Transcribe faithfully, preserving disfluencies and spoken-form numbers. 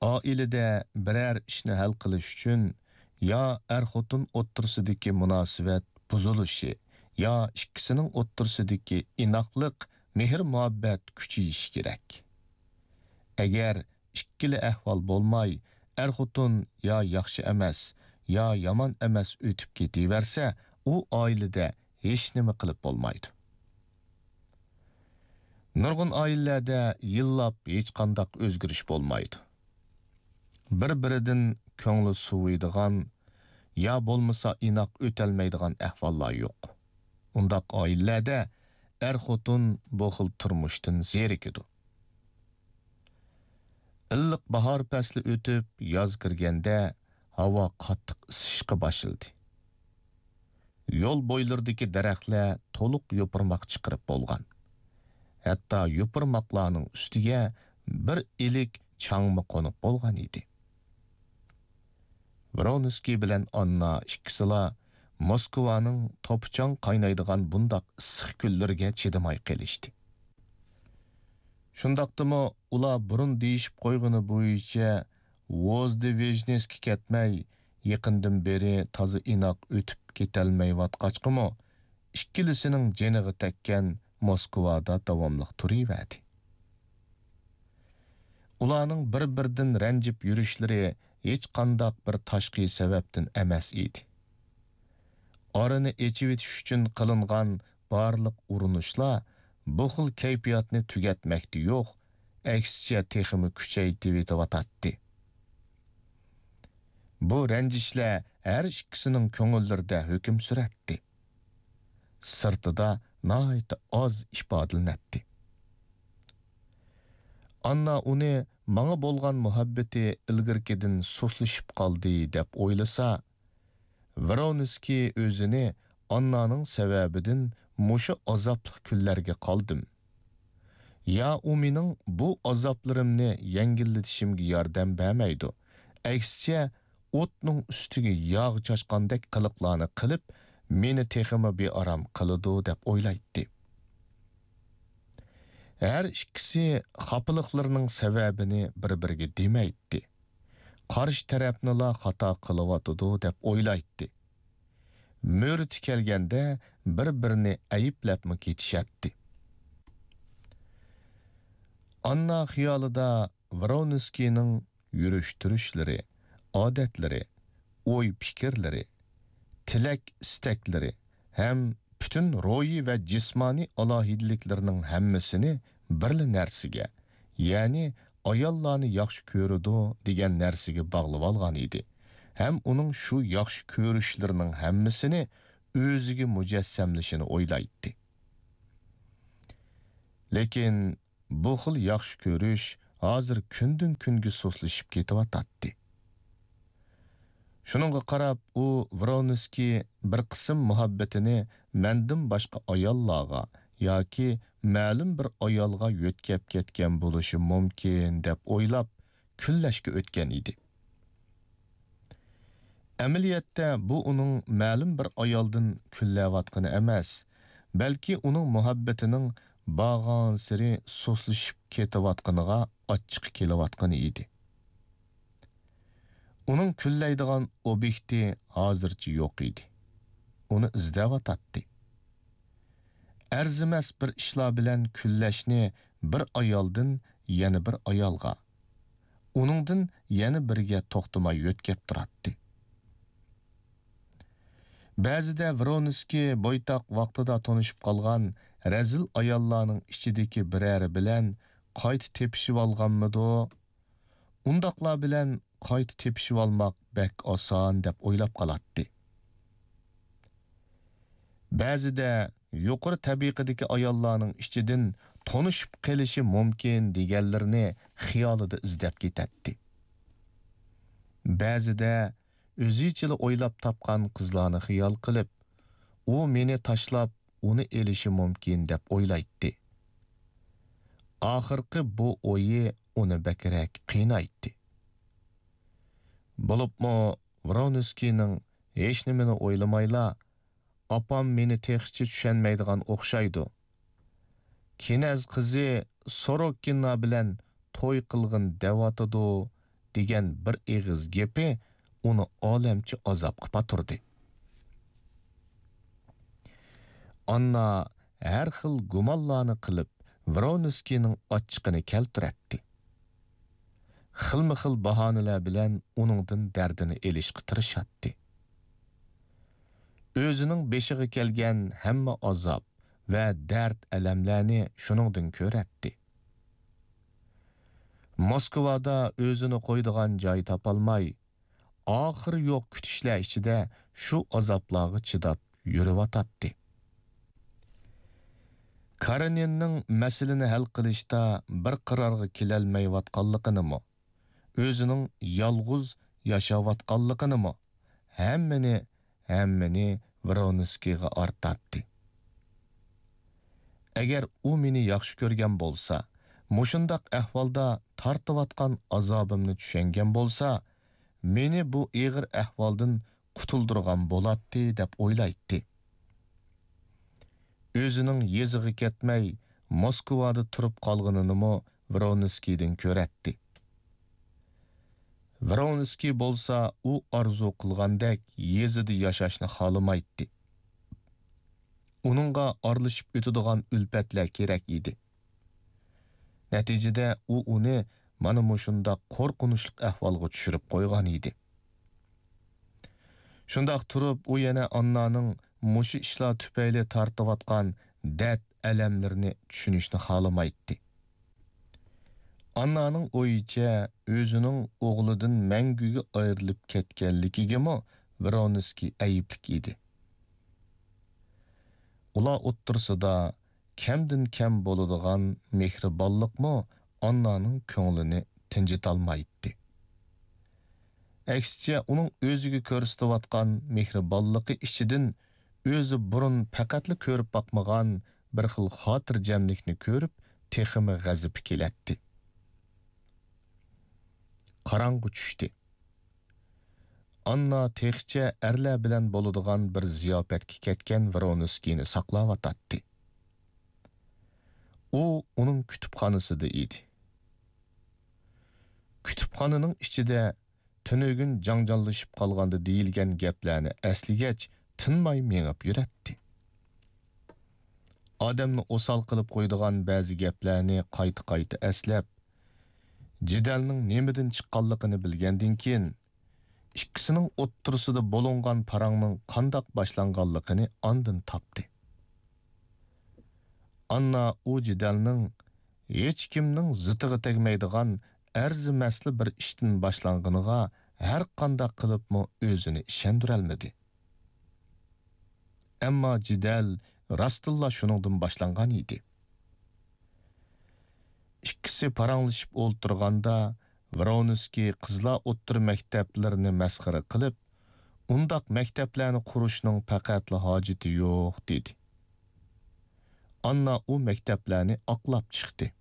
ئائىلىدە بىرەر ئىشنى ھەل قىلىش ئۈچۈن يا ئەر-خوتۇن ئوتتۇرىسىدىكى مۇناسىۋەت بۇزۇلۇشى، يا ئىككىسىنىڭ ئوتتۇرىسىدىكى ئىناقلىق، مېھىر-مۇھەببەت كۈچىيىشى كېرەك. ئەگەر ئىككىلا ئەھۋال بولماي، ئەر-خوتۇن يا ياخشى ئەمەس، يا يامان ئەمەس ئۆتۈپ كېتىۋەرسە، ئۇ ئائىلىدە ھېچنېمە قىلىپ بولمايدۇ. نۇرغۇن ئائىلىلەردە يىللاپ ھېچقانداق ئۆزگىرىش بولمايدۇ. بىر-بىرىدىن كۆڭلى سۇۋۇيدىغان يا بولمىسا ئىناق ئۆتەلمەيدىغان ئەھۋاللار يوق. ئۇنداق ئائىلىلەردە ئەر-خوتۇن بۇ خىل تۇرمۇشتىن زېرىكىدۇ. ئىللىق باھار پەسلى ئۆتۈپ، ياز كىرگەندە، ھاۋا قاتتىق ئىسسىشقا باشلىدى. يول بويلىرىدىكى دەرەخلەر تولۇق يوپۇرماق چىقىرىپ بولغان. ھەتتا يوپۇرماقلارنىڭ ئۈستىگە بىر ئىلىك چاڭمۇ قونۇپ بولغان ئىدى. ۋرونسكىي بىلەن ئاننا ئىككىسىلا موسكۋانىڭ توپا-چاڭ قاينايدىغان بۇنداق ئىسسىق كۈنلىرىگە چىدىماي قېلىشتى. شۇنداقتىمۇ ئۇلار بۇرۇن دېيىشىپ قويغىنى بويىچە ۋوزدېۋېژنېسكا كەتمەي، يېقىندىن بېرى تازا ئىناق ئۆتۈپ كېتەلمەيۋاتقاچقىمۇ، ئىككىلىسىنىڭ جېنىغا تەگكەن موسكۋادا داۋاملىق تۇرۇۋەردى. ئۇلارنىڭ بىر-بىرىدىن رەنجىپ يۈرۈشلىرى ھېچقانداق بىر تاشقى سەۋەبتىن ئەمەس ئىدى. ئارىنى ئېچىۋېتىش ئۈچۈن قىلىنغان بارلىق ئۇرۇنۇشلار بۇ خىل كەيپىياتنى تۈگەتمەكتە يوق، ئەكسىچە تېخىمۇ كۈچەيتىۋېتىۋاتاتتى. بۇ رەنجىشلەر ھەر ئىككىسىنىڭ كۆڭۈللىرىدە ھۆكۈم سۈرەتتى. سىرتىدا ناھايىتى ئاز ئىپادىلىنەتتى. ئاننا ئۇنى ماڭا بولغان مۇھەببىتى ئىلگىرىكىدىن سۇسلىشىپ قالدى دەپ ئويلىسا، ۋرونسكىي ئۆزىنى ئاننانىڭ سەۋەبىدىن مۇشۇ ئازابلىق كۈنلەرگە قالدىم. يا ئۇ مېنىڭ بۇ ئازابلىرىمنى يەڭگىللىتىشىمگە ياردەم بەرمەيدۇ، ئەكسىچە ئوتنىڭ ئۈستىگە ياغ چاچقاندەك قىلىقلارنى قىلىپ، مېنى تېخىمۇ بىئارام قىلىدۇ دەپ ئويلايتتى. ھەر ئىككىسى خاپىلىقلىرىنىڭ سەۋەبىنى بىر-بىرىگە دېمەيتتى. قارشى تەرەپنىلا خاتا قىلىۋاتىدۇ دەپ ئويلايتتى. مۆرىتى كەلگەندە بىر-بىرىنى ئەيىبلەپمۇ كېتىشەتتى. ئاننا خىيالىدا ۋرونسكىينىڭ يۈرۈش-تۇرۇشلىرى، ئادەتلىرى، ئوي-پىكىرلىرى، تىلەك-ئىستەكلىرى ھەم پۈتۈن روھىي ۋە جىسمانىي ئالاھىدىلىكلىرىنىڭ ھەممىسىنى بىرلا نەرسىگە، يەنى ئاياللارنى ياخشى كۆرىدۇ دېگەن نەرسىگە باغلىۋالغان ئىدى ھەم ئۇنىڭ شۇ ياخشى كۆرۈشلىرىنىڭ ھەممىسىنى ئۆزىگە مۇجەسسەملىشىنى ئويلايتتى. لېكىن بۇ خىل ياخشى كۆرۈش ھازىر كۈندىن-كۈنگە سۇسلىشىپ كېتىۋاتاتتى. شۇنىڭغا قاراپ، ئۇ ۋرونسكىي بىر قىسىم مۇھەببىتىنى مەندىن باشقا ئاياللارغا ياكى مەلۇم بىر ئايالغا يۆتكەپ كەتكەن بولۇشى مۇمكىن دەپ ئويلاپ، كۈنلەشكە ئۆتكەن ئىدى. ئەمەلىيەتتە بۇ ئۇنىڭ مەلۇم بىر ئايالدىن كۈنلەۋاتقىنى ئەمەس، بەلكى ئۇنىڭ مۇھەببىتىنىڭ بارغانسېرى سۇسلىشىپ كېتىۋاتقىنىغا ئاچچىقى كېلىۋاتقىنى ئىدى. ئۇنىڭ كۈنلەيدىغان ئوبيېكتى ھازىرچە يوق ئىدى. ئۇنى ئىزدەۋاتاتتى. ئەرزىمەس بىر ئىشلار بىلەن كۈنلەشنى بىر ئايالدىن يەنە بىر ئايالغا، ئۇنىڭدىن يەنە بىرىگە توختىماي يۆتكەپ تۇراتتى. بەزىدە ۋرونسكىي بويتاق ۋاقتىدا تونۇشۇپ قالغان رەزىل ئاياللارنىڭ ئىچىدىكى بىرەرى بىلەن قايتا تېپىشىۋالغانمىدۇ؟ ئۇنداقلار بىلەن قايتا تېپىشىۋالماق بەك ئاسان دەپ ئويلاپ قالاتتى. بەزىدە يۇقىرى تەبىقىدىكى ئاياللارنىڭ ئىچىدىن تونۇشۇپ قېلىشى مۇمكىن دېگەنلىرىنى خىيالىدا ئىزدەپ كېتەتتى. بەزىدە ئۆزىچىلا ئويلاپ تاپقان قىزلارنى خىيال قىلىپ، ئۇ مېنى تاشلاپ، ئۇنى ئېلىشى مۇمكىن دەپ ئويلايتتى. ئاخىرقى بۇ ئويى ئۇنى بەكرەك قىينايتتى. بولۇپمۇ ۋرونسكىينىڭ ھېچنېمىنى ئويلىمايلا، «ئاپام مېنى تېخىچە چۈشەنمەيدىغان ئوخشايدۇ. كىنەز قىزى سوروكىنا بىلەن توي قىلغىن دەۋاتىدۇ» دېگەن بىر ئېغىز گېپى ئۇنى ئالەمچە ئازابقا پاتۇردى. ئاننا ھەر خىل گۇمانلارنى قىلىپ، ۋرونسكىينىڭ ئاچچىقىنى كەلتۈرەتتى. خىلمۇ خىل باھانىلەر بىلەن ئۇنىڭدىن دەردىنى ئېلىشقا تىرىشاتتى. ئۆزىنىڭ بېشىغا كەلگەن ھەممە ئازاب ۋە دەرد-ئەلەملەرنى شۇنىڭدىن كۆرەتتى. موسكۋادا ئۆزىنى قويىدىغان جاي تاپالماي، ئاخىرى يوق كۈتۈشلەر ئىچىدە شۇ ئازابلارغا چىداپ يۈرۈۋاتاتتى. كارېنىننىڭ مەسىلىنى ھەل قىلىشتا بىر قارارغا كېلەلمەيۋاتقانلىقىنىمۇ، ئۆزىنىڭ يالغۇز ياشاۋاتقانلىقىنىمۇ، ھەممىنى، ھەممىنى ۋرونسكىيغا ئارتاتتى. ئەگەر ئۇ مېنى ياخشى كۆرگەن بولسا، مۇشۇنداق ئەھۋالدا تارتىۋاتقان ئازابىمنى چۈشەنگەن بولسا، مېنى بۇ ئېغىر ئەھۋالدىن قۇتۇلدۇرغان بولاتتى، دەپ ئويلايتتى. ئۆزىنىڭ يېزىغا كەتمەي، موسكۋادا تۇرۇپ قالغىنىنىمۇ ۋرونسكىيدىن كۆرەتتى. ۋرونسكىي بولسا ئۇ ئارزۇ قىلغاندەك يېزىدا ياشاشنى خالىمايتتى. ئۇنىڭغا ئارىلىشىپ ئۆتىدىغان ئۈلپەتلەر كېرەك ئىدى. نەتىجىدە ئۇ ئۇنى مانا مۇشۇنداق قورقۇنچلۇق ئەھۋالغا چۈشۈرۈپ قويغان ئىدى. شۇنداق تۇرۇپ، ئۇ يەنە ئاننانىڭ مۇشۇ ئىشلار تۈپەيلى تارتىۋاتقان دەرد-ئەلەملىرىنى چۈشىنىشنى خالىمايتتى. ئاننانىڭ ئويىچە، ئۆزىنىڭ ئوغلىدىن مەڭگۈگە ئايرىلىپ كەتكەنلىكىگىمۇ ۋرونسكىي ئەيىبلىك ئىدى. ئۇلار ئوتتۇرىسىدا كەمدىن كەم بولىدىغان مېھرىبانلىقمۇ ئاننانىڭ كۆڭلىنى تىنجىتالمايتتى. ئەكسىچە، ئۇنىڭ ئۆزىگە كۆرسىتىۋاتقان مېھرىبانلىقى ئىچىدىن ئۆزى بۇرۇن پەقەتلا كۆرۈپ باقمىغان بىر خىل خاتىرجەملىكنى كۆرۈپ، تېخىمۇ غەزىپى كېلەتتى. قاراڭغۇ چۈشتى. ئاننا تېخىچە ئەرلەر بىلەن بولىدىغان بىر زىياپەتكە كەتكەن ۋرونسكىينى ساقلاۋاتاتتى. ئۇ ئۇنىڭ كۇتۇپخانىسىدا ئىدى. كۇتۇپخانىنىڭ ئىچىدە تۈنۈگۈن جاڭجاللىشىپ قالغاندا دېيىلگەن گەپلەرنى ئەسلىگەچ، تىنماي مېڭىپ يۈرەتتى. ئادەمنى ئوسال قىلىپ قويىدىغان بەزى گەپلەرنى قايتا-قايتا ئەسلەپ، جېدەلنىڭ نېمىدىن چىققانلىقىنى بىلگەندىن كېيىن، ئىككىسىنىڭ ئوتتۇرىسىدا بولۇنغان پاراڭنىڭ قانداق باشلانغانلىقىنى ئاندىن تاپتى. ئاننا ئۇ جېدەلنىڭ ھېچكىمنىڭ زىتىغا تەگمەيدىغان ئەرزىمەسلا بىر ئىشتىن باشلانغىنىغا ھەرقانداق قىلىپمۇ ئۆزىنى ئىشەندۈرەلمىدى. ئەمما جېدەل راستتىنلا شۇنىڭدىن باشلانغان ئىدى. ئىككىسى پاراڭلىشىپ ئولتۇرغاندا، ۋرونسكىي قىزلار ئوتتۇرا مەكتەپلىرىنى مەسخىرە قىلىپ، ئۇنداق مەكتەپلەرنى قۇرۇشنىڭ پەقەتلا ھاجىتى يوق، دېدى. ئاننا ئۇ مەكتەپلەرنى ئاقلاپ چىقتى.